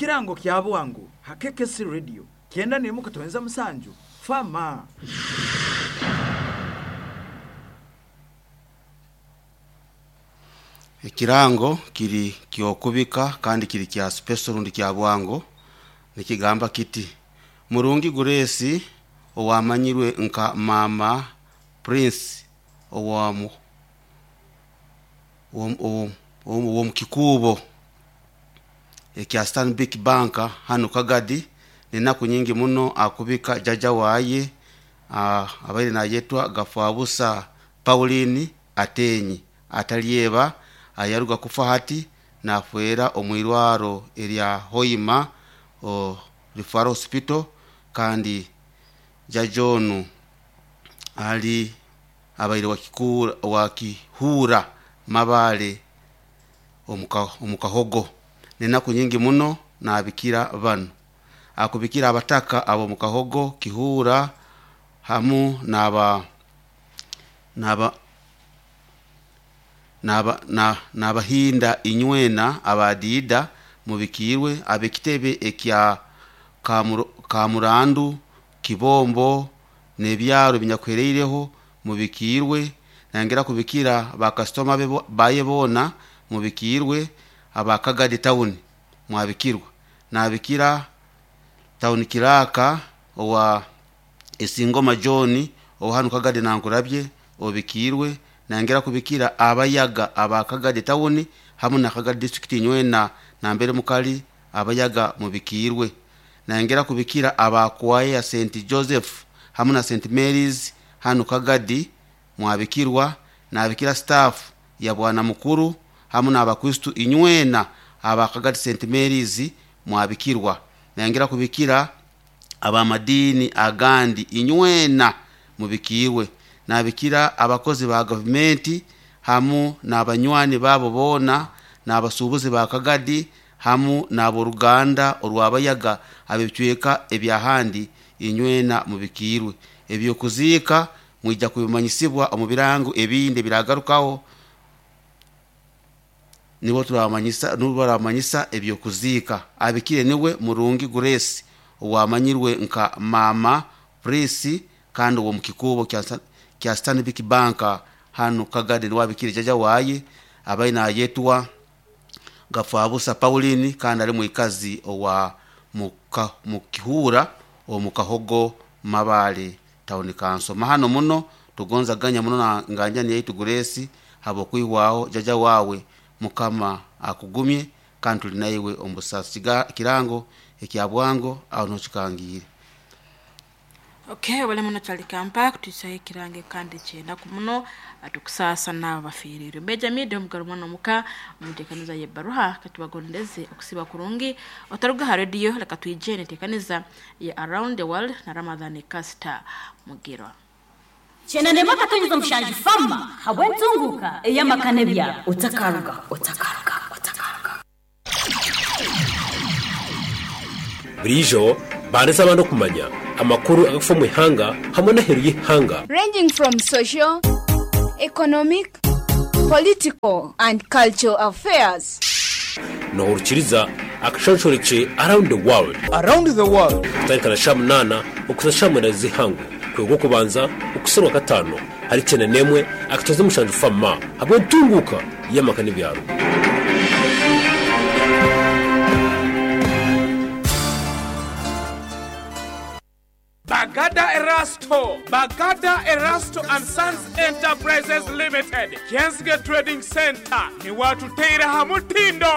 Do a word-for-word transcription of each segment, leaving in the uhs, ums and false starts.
Ekirango kya bwangu ha K K C Radio kyenda nemu katwenza musanju fama. Ekirango kiri kyokubika kandi kiri kya special rundi kya bwango, nikigamba kiti: Murungi Grace, owamanyirwe nka Mama Prince, owamu owomukikubo ekya Stanbic Bank hano Kagadi, nenaku nyingi muno akubika jaja waye abaire nayetwa Gafabusa Pauline Atenyi atalyeba, ayaruga kufa hati nafwera omwirwaro erya Hoima o Referral Hospital. Kandi jaja onu ali abaire wakikura wakihura Mabale omukahogo. Nenaku nyingi muno nabikira banu, akubikira abataka abo mukahogo Kihura hamu naba naba naba nabahinda inywena abadida mubikirwe, abekitebe ekya Kamurandu, Kibombo nebyaro binyakwereireho mubikirwe. Nangera kubikira bakasitoma baye bona mubikirwe, abakagadi town mwabikirwa. Nabikira town kiraka owa Esingoma John ohanu Kagadi nankurabye obikirwe. Nangera kubikira abayaga abakagadi town hamu na Kagadi district nywena nambere mukali abayaga mubikirwe. Nangera kubikira abakwaye ya Saint Joseph hamu na Saint Mary's hanu Kagadi mwabikirwa. Nabikira staff ya bwana mukuru hamu n'abakristu inywena abakagadi Saint Mary's mwabikirwa. Nangera kubikira abamadini agandi inywena mubikirwe. Nabikira abakozi ba gavumenti hamu n'abanywani babo bona n'abasuubuzi ba Kagadi hamu n'aboruganda orwabayaga abebicweka ebyahandi inywena mubikirwe. Ebyokuziika mwija kubimanyisibwa omu birango ebindi biragarukaho, nibo turabamanyisa, nibo baramanyisa ebyokuziika. Abikire niwe Murungi Grace, owamanyirwe nka Mama Prince, kandi owo mukikubo kya Stanbic Bank hano Kagadi, niwe abikire jaja waye abaine nayetwa Gafabusa Pauline, kandi ari mwikazi owa muka, mukihura omukahogo Mabale town council. Mahano muno tugonza ganya muno na nganjani yaitu Grace habokwihwaho jaja wawe. Mukama akugumye kandi tuli naiwe omusasi. Kirango ekya bwango aho nokikangire. Okay, wale muno twalikampa kutuisaho ekirango kandi kyenaku muno atukusaasa n'abo bafiirirwe Benjamin omugaro mwana omuka omuteekaniza y'ebbaruha. Katubagondeze okusiba kurungi, otaruga ha rediyo. Leka twije neteekaniza ya Around the World na Ramadhani Kasita Mugirwa. Kyenda katonyeza omushanju fama habw'entunguka ey'amakane byabo otakaruga otakaruga otakaruga. Burijo bandisa abantu kumanya amakuru agafa mu ihanga hamwe n'aheru y'ihanga, ranging from social, economic, political, and cultural affairs. Nohurukiriza akashonshoreke Around the World. Around the World. Kutandika na sha munana okuza sha mwenda z'ihangu kwego kubanza okuserwa katano hari cyenda nemwe akatoza umushanju fama hamwe ntunguka y'amaka n'ibyaro. Bagada Erasto, Bagada Erasto and Sons Enterprises Limited, Kensge Trading Center, ni watuteira hamutindo.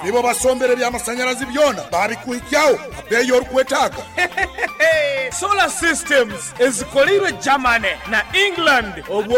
Nibo basombere by'amasanyarazi byona babikuhikyaho abeyo orukwetaaga. Solar systems ezikolirwe Germany na England obwo.